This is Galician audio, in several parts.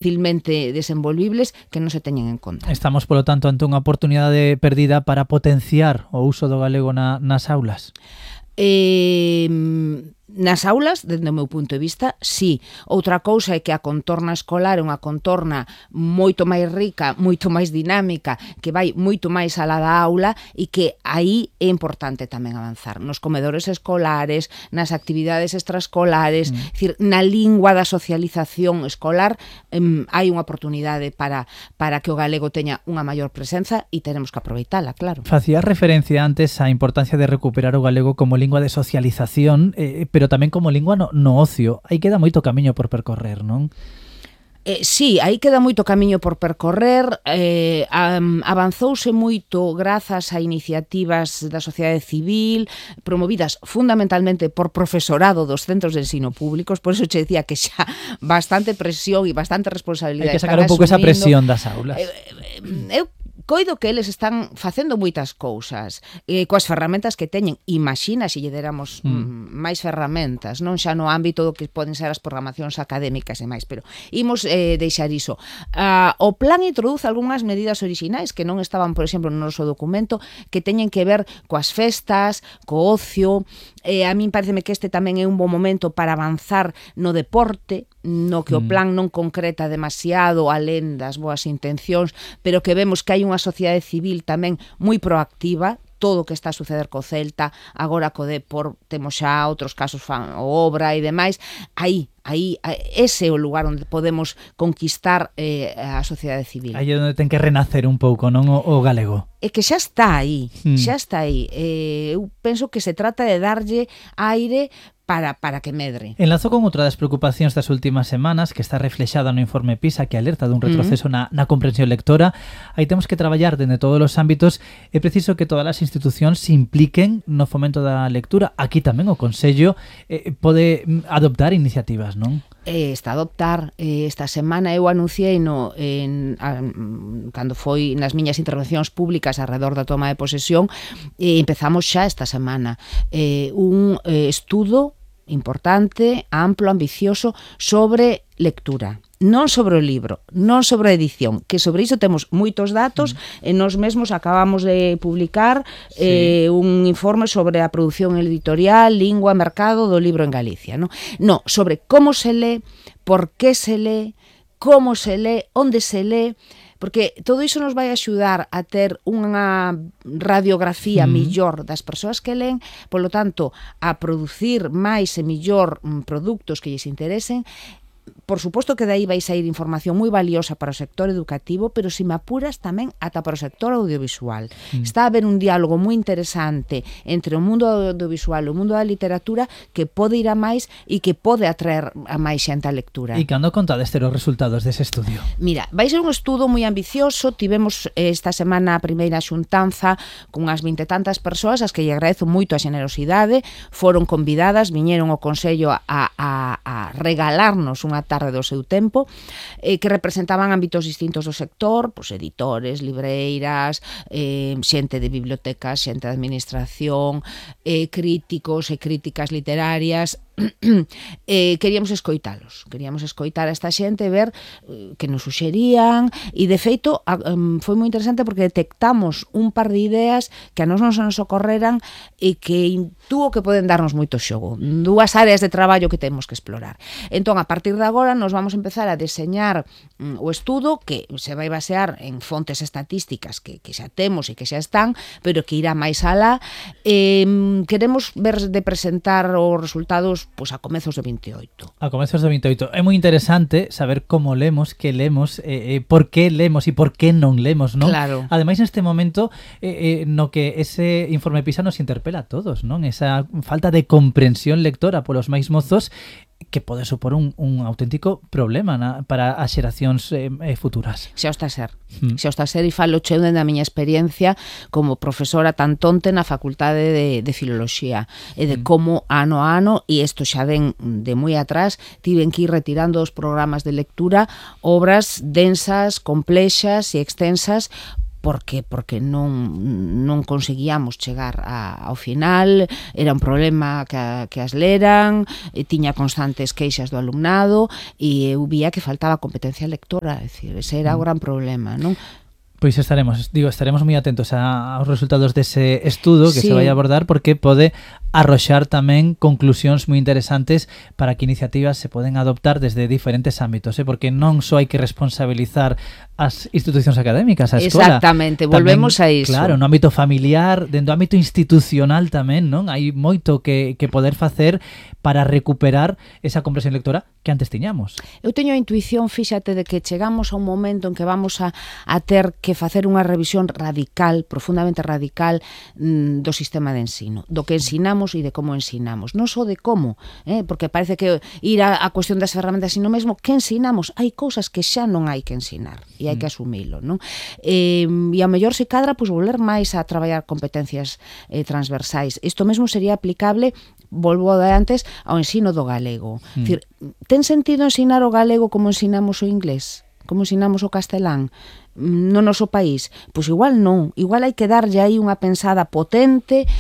fácilmente desenvolvibles que non se teñen en conta. Estamos, polo tanto, ante unha oportunidade perdida para potenciar o uso do galego nas aulas? Nas aulas, dende o meu punto de vista, sí. Outra cousa é que a contorna escolar é unha contorna moito máis rica, moito máis dinámica, que vai moito máis alá da aula e que aí é importante tamén avanzar. Nos comedores escolares, nas actividades extraescolares, decir, na lingua da socialización escolar, hai unha oportunidade para que o galego teña unha maior presenza e teremos que aproveitala, claro. Facía referencia antes á importancia de recuperar o galego como lingua de socialización, pero tamén como lingua no ocio. Aí queda moito camiño por percorrer, non? Sí, aí queda moito camiño por percorrer, avanzouse moito grazas a iniciativas da sociedade civil, promovidas fundamentalmente por profesorado dos centros de ensino públicos, por eso che decía que xa bastante presión e bastante responsabilidade. Hai que sacar un pouco esa presión das aulas. Eu coido que eles están facendo moitas cousas coas ferramentas que teñen. Imagina se lle deramos máis ferramentas, non xa no ámbito do que poden ser as programacións académicas e máis, pero imos deixar iso. O plan introduce algunhas medidas orixinais que non estaban, por exemplo, no noso documento, que teñen que ver coas festas, co ocio. A min pareceme que este tamén é un bon momento para avanzar no deporte, no que o plan non concreta demasiado alén das boas intencións, pero que vemos que hai unha sociedade civil tamén moi proactiva. Todo o que está a suceder co Celta, agora co Depor, temos xa outros casos, o Obra e demais. Aí, ese é o lugar onde podemos conquistar a sociedade civil. Aí é onde ten que renacer un pouco, non, o galego. É que xa está aí, xa está aí. Eu penso que se trata de darlle aire para que medre. Enlazo con outra das preocupacións das últimas semanas que está reflexada no informe PISA, que alerta dun retroceso na comprensión lectora. Aí temos que traballar dende todos os ámbitos. É preciso que todas as institucións se impliquen no fomento da lectura. Aquí tamén o Consello pode adoptar iniciativas, non? Está a adoptar. Esta semana eu anunciei cando foi nas miñas intervencións públicas alrededor da toma de posesión, empezamos xa esta semana un estudo importante, amplo, ambicioso sobre lectura. Non sobre o libro, non sobre a edición, que sobre iso temos moitos datos e nós mesmos acabamos de publicar un informe sobre a produción editorial, lingua, mercado do libro en Galicia. No, sobre como se lee, por que se lee, como se lee, onde se lee, porque todo iso nos vai axudar a ter unha radiografía millor das persoas que leen, polo tanto, a producir máis e millor produtos que lles interesen. Por suposto que dai vai sair información moi valiosa para o sector educativo, pero se me apuras tamén ata para o sector audiovisual. Está a haber un diálogo moi interesante entre o mundo audiovisual e o mundo da literatura que pode ir a máis e que pode atraer a máis xente á lectura. E cando contades ter os resultados dese estudio? Mira, vai ser un estudo moi ambicioso. Tivemos esta semana a primeira xuntanza con as 20 e tantas persoas, as que lle agradezo moito a xenerosidade. Foron convidadas, viñeron ao Consello a regalarnos unha tarde do seu tempo, que representaban ámbitos distintos do sector, pois editores, libreiras, xente de bibliotecas, xente de administración, críticos e críticas literarias. Queríamos escoitalos, queríamos escoitar a esta xente, ver que nos suxerían, e de feito foi moi interesante porque detectamos un par de ideas que a nós non se nos ocorreran e que intuo que poden darnos moito xogo, dúas áreas de traballo que temos que explorar. Entón, a partir de agora nos vamos a empezar a deseñar o estudo que se vai basear en fontes estatísticas que xa temos e que xa están, pero que irá máis alá. Queremos ver de presentar os resultados pois a comezos do 28. A comezos do 28. É moi interesante saber como lemos, que lemos, por que lemos e por que non lemos, non? Claro. Ademais, neste momento no que ese informe PISA nos interpela a todos, non? Esa falta de comprensión lectora polos máis mozos que pode supor un auténtico problema para as xeracións futuras. Xa está a ser. Xa está a ser, e falo cheu dende a miña experiencia como profesora tantonte na Facultade de Filoloxía e de como ano a ano, e isto xa ven de moi atrás, tiven que ir retirando os programas de lectura obras densas, complexas e extensas porque non conseguíamos chegar ao final, era un problema que as leran, tiña constantes queixas do alumnado e eu vía que faltaba competencia lectora, é dicir, ese era o gran problema, non? Pois estaremos moi atentos aos resultados dese estudo que sí. se vai a abordar, porque pode arroxar tamén conclusións moi interesantes para que iniciativas se poden adoptar desde diferentes ámbitos, porque non só hai que responsabilizar as institucións académicas, a escola. Exactamente, volvemos tamén, a iso. Claro, no ámbito familiar, dentro do ámbito institucional tamén, non? Hai moito que poder facer para recuperar esa comprensión lectora que antes tiñamos. Eu teño a intuición, fíxate, de que chegamos a un momento en que vamos a ter que facer unha revisión radical, profundamente radical, do sistema de ensino, do que ensinamos e de como ensinamos, non só de como, porque parece que ir a cuestión das ferramentas, sino mesmo que ensinamos. Hai cousas que xa non hai que ensinar e hai que asumilo, non? E a mellor se cadra, pois, volver máis a traballar competencias transversais. Isto mesmo sería aplicable, volvo de antes, ao ensino do galego. Dicir, ten sentido ensinar o galego como ensinamos o inglés? Como ensinamos o castelán no noso país? Pois igual non, igual hai que darlle aí unha pensada potente,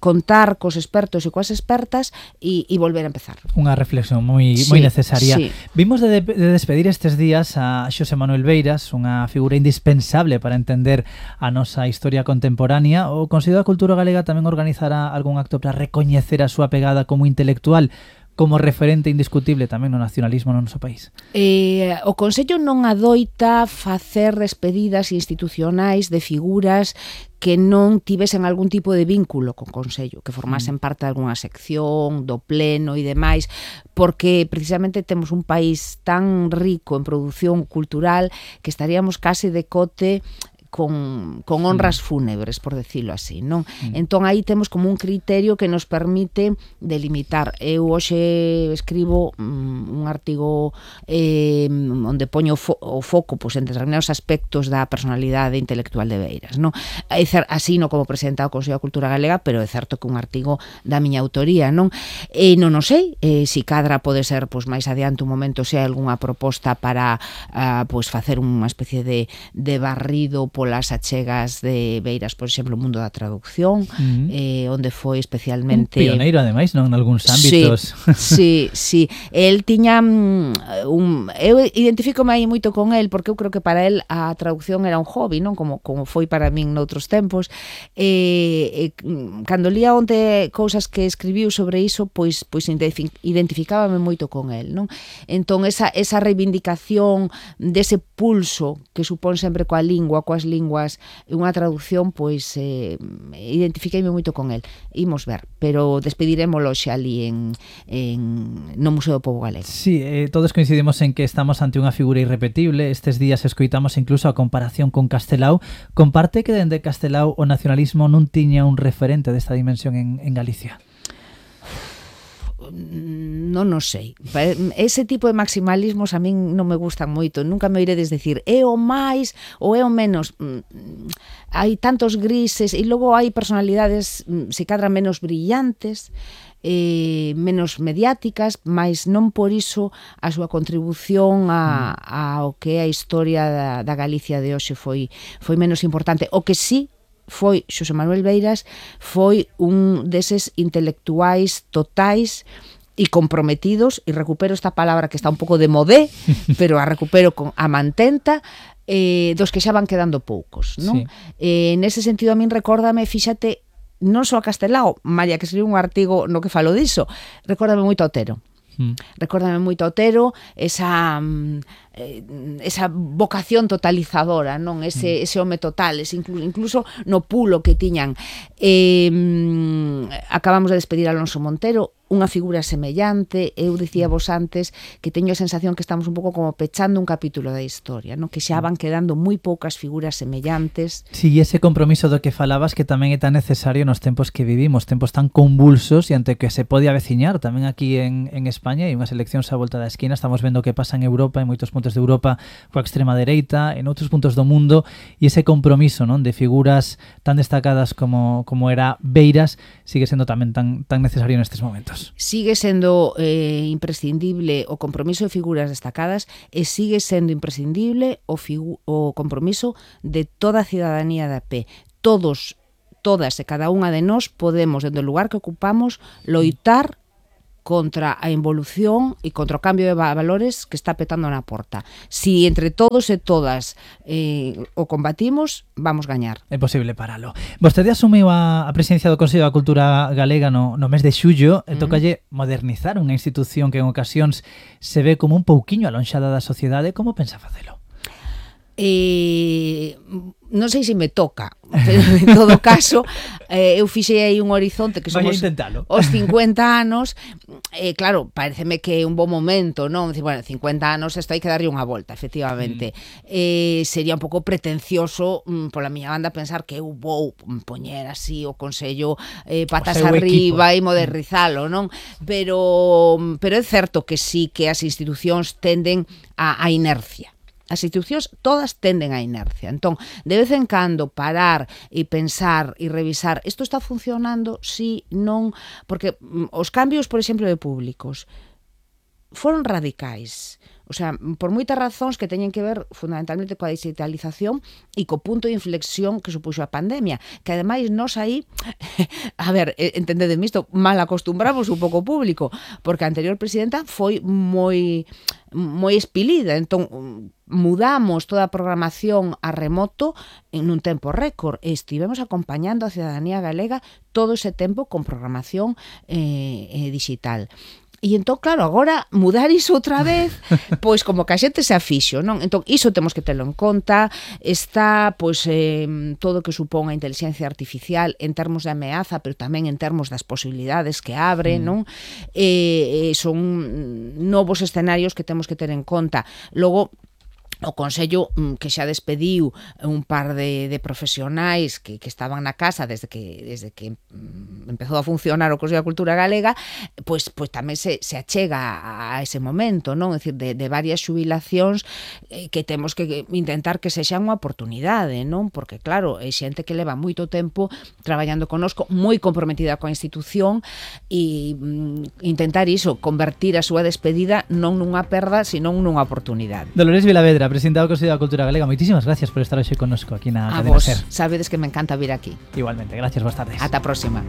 contar cos expertos e coas expertas e volver a empezar. Unha reflexión moi necesaria. Sí. Vimos de despedir estes días a Xosé Manuel Beiras, unha figura indispensable para entender a nosa historia contemporánea. O Consello da Cultura Galega tamén organizará algún acto para recoñecer a súa pegada como intelectual, como referente indiscutible tamén no nacionalismo no noso país. O Consello non adoita facer despedidas institucionais de figuras que non tivesen algún tipo de vínculo con Consello, que formasen parte de algunha sección, do pleno e demais, porque precisamente temos un país tan rico en produción cultural que estaríamos case de cote con honras fúnebres, por decirlo así, non? Entón aí temos como un criterio que nos permite delimitar. Eu hoxe escribo un artigo onde poño o foco, pois, en determinados aspectos da personalidade intelectual de Beiras, non? Así no como presidenta do Consello da Cultura Galega, pero é certo que un artigo da miña autoría, non? Non o sei, si cadra pode ser, pois, máis adiante un momento, se hai algunha proposta para pois facer unha especie de barrido polas achegas de Beiras, por exemplo, o mundo da traducción, onde foi especialmente... Un pioneiro, ademais, non? En algúns ámbitos. Sí. El tiña eu identifícome aí moito con el, porque eu creo que para el a traducción era un hobby, non? Como foi para min noutros tempos. Cando lía onte cousas que escribiu sobre iso, pois identificábame moito con el, non? Entón, esa reivindicación dese pulso que supón sempre coa lingua, coas linguas, unha traducción, pois identifiqueime moito con el. Imos ver, pero despedirémolo xa ali no Museo do Pobo Galego. Sí, todos coincidimos en que estamos ante unha figura irrepetible. Estes días escoitamos incluso a comparación con Castelao. Comparte que dende Castelao o nacionalismo non tiña un referente desta dimensión en Galicia? Non o sei. Ese tipo de maximalismos a min non me gustan moito. Nunca me oiredes decir é o máis ou é o menos. Hai tantos grises e logo hai personalidades se cadra menos brillantes, menos mediáticas, mas non por iso a súa contribución ao que é a historia da Galicia de hoxe foi menos importante. O que sí foi Xosé Manuel Beiras foi un deses intelectuais totais e comprometidos, e recupero esta palabra que está un pouco de modé, pero a recupero con a mantenta, dos que xa van quedando poucos, non? Sí. Nese sentido a min recórdame, fíxate, non só a Castelao, María, que escribiu un artigo no que falo diso, recórdame moito a Otero. Recórdame moito a Otero, esa vocación totalizadora, non? Ese home total, incluso no pulo que tiñan. Acabamos de despedir a Alonso Montero, unha figura semellante. Eu dicía vos antes que teño a sensación que estamos un pouco como pechando un capítulo da historia, non? Que xa van quedando moi poucas figuras semellantes. Sí, ese compromiso do que falabas que tamén é tan necesario nos tempos que vivimos, tempos tan convulsos e ante que se pode aveciñar tamén aquí en España, e unhas eleccións á volta da esquina. Estamos vendo o que pasa en Europa, en moitos puntos de Europa, coa extrema dereita, en outros puntos do mundo, e ese compromiso, non, de figuras tan destacadas como era Beiras sigue sendo tamén tan necesario nestes momentos. anos. Sigue sendo imprescindible o compromiso de figuras destacadas e sigue sendo imprescindible o compromiso de toda a cidadanía de a pé. Todas e cada unha de nós podemos, dentro do lugar que ocupamos, loitar contra a involución e contra o cambio de valores que está petando na porta. Si entre todos e todas o combatimos, vamos gañar. É posible paralo. Vostede asumiu a presidencia do Consello da Cultura Galega no mes de xullo e tocalle modernizar unha institución que en ocasións se ve como un pouquiño alonxada da sociedade. Como pensa facelo? Non sei se me toca, pero en todo caso eu fixei aí un horizonte que somos os 50 anos. Claro, pareceme que é un bon momento, non? Dicir, bueno, 50 anos isto hai que darlle unha volta, efectivamente. Sería un pouco pretencioso pola miña banda pensar que eu vou poñer así o Consello patas arriba e modernizalo, non? Pero é certo que sí que as institucións tenden a inercia. As institucións todas tenden á inercia. Entón, de vez en cando parar e pensar e revisar isto está funcionando, si, non, porque os cambios, por exemplo, de públicos foron radicais. O sea, por moitas razóns que teñen que ver fundamentalmente coa digitalización e co punto de inflexión que supuxo a pandemia, que ademais nós aí, a ver, entendedeme isto, mal acostumbramos un pouco o público, porque a anterior presidenta foi moi espilida, entón mudamos toda a programación a remoto en un tempo récord e estivemos acompañando a cidadanía galega todo ese tempo con programación digital. E entón, claro, agora mudar iso outra vez, pois como que a xente se afixo, non? Entón, iso temos que telo en conta. Está, pois, todo o que supón a inteligencia artificial en termos de ameaza, pero tamén en termos das posibilidades que abre, non? Son novos escenarios que temos que ter en conta. Logo, o Consello que xa despediu un par de profesionais que estaban na casa desde que empezou a funcionar o Consello da Cultura Galega, pois tamén se achega a ese momento, non? É dicir, de varias xubilacións que temos que intentar que sexan unha oportunidade, non? Porque claro, é xente que leva moito tempo traballando connosco, moi comprometida coa institución e intentar iso, convertir a súa despedida non nunha perda, senón nunha oportunidade. Dolores Vilavedra, presidenta do Consello da Cultura Galega, moitísimas gracias por estar hoxe connosco aquí na Cadena Ser. Sabedes que me encanta vir aquí. Igualmente, gracias, boas tardes. Ata a próxima.